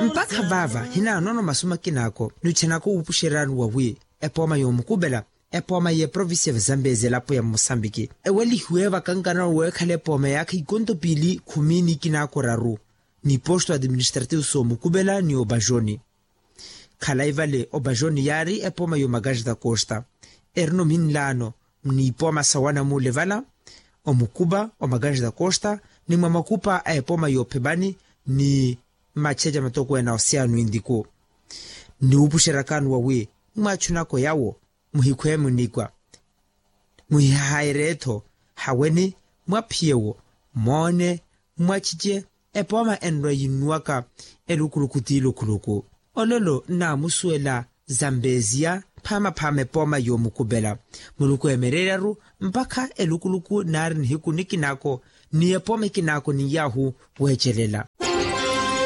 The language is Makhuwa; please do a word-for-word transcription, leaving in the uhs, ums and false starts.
Mpakha vaava hinaanono masu makinaako nuchanaka wuupuxeryaani wawi epooma yoomukupela epooma y'eprovincia va zambezi elapo ya mosambiki ewelihiwe vakankana weekhala epooma yaakha ikonto piili khumi n'ikinaako raru n'iposto administrativo soomukupela ni opajoni. Khalayi vale opajoni yaari epooma y'omakaxita costa erino minlaano n'ipooma sawana muule vala omukupa omakaxita costa ni mwa makupa a epooma y'ophepani ni machecha matokweene a osiyaano intiku. Niwuupuxeryakaani wawi mwaachunako yawo muhikhwe munikwa muhihahayerye-tho haweni mwaphiyewo moone mwachiche epooma enrwa yinnuwaka elukuluku ti lukuluku. Olelo nnaamusuwela zambeziya phaamaphaama epooma yoomukupela muluku eemereryaru mpakha elukuluku naari nihiku nikinaako ni epooma ikinaako ni yaahu weecelela.